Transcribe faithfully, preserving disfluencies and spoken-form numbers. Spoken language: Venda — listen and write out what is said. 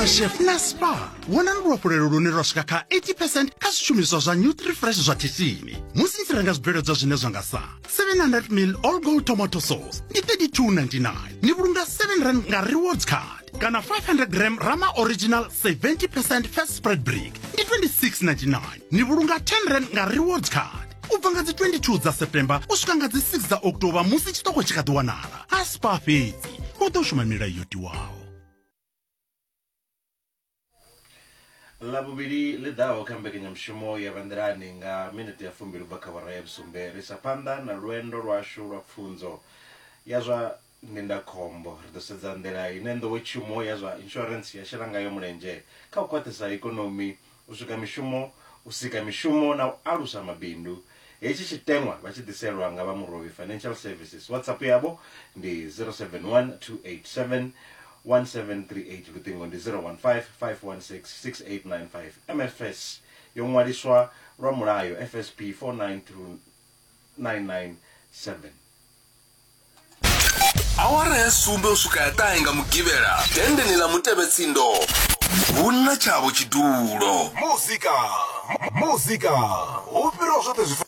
Chef na Spar wanani luafhulelo lune lwa swika kha eighty percent kha zwishumiswa zwa Nutrifresh zwa khishini musi ni tshi renga zwibveledzwa zwine zwa nga sa seven hundred mil all gold tomato sauce ndi thirty two ninety nine ni vhulunga seven rand nga rewards card kana five hundred gram Rama original seventy percent fat spread brick ndi twenty six ninety nine ni vhulunga ten rand nga rewards card u bva nga dzi twenty two dza September u swika nga dzi six dza October musi tshiṱoko tshi kha ḓi wanala ha Spar fhedzi hu ḓo shuma milayo yo tiwaho. Ḽavhuvhili ḽi ḓaho kha mbekanyamushumo ya Vhanḓilani nga minete ya fumbili u bva kha awara ya vhusumbe ri isa phanḓa na lwendo lwashu lwa pfunzo ya zwa ndindakhombo. Ri ḓo sedza nḓila ine nḓowetshumo ya zwa insurance ya shela ngayo mulenzhe kha u khwaṱhisa ikonomi, u swika mishumo, u sika mishumo na u alusa mabindu. Hetshi tshiteṅwa vha tshi ḓiselwa nga vha Murovhi Financial Services. WhatsApp yavho ndi zero seven one two eight seven one seven three eight, luṱingo ndi zero one five five one six six eight nine five. M F S yo ṅwaliswa lwa mulayo F S P four nine two nine nine seven. Awara ya sumbe u swika ya ṱahe nga Mugivhela dendeni ḽa Mutevhetsindo hu na tshavho tshidulo. Muzika, muzika hu fhiraho zwoṱhe zwi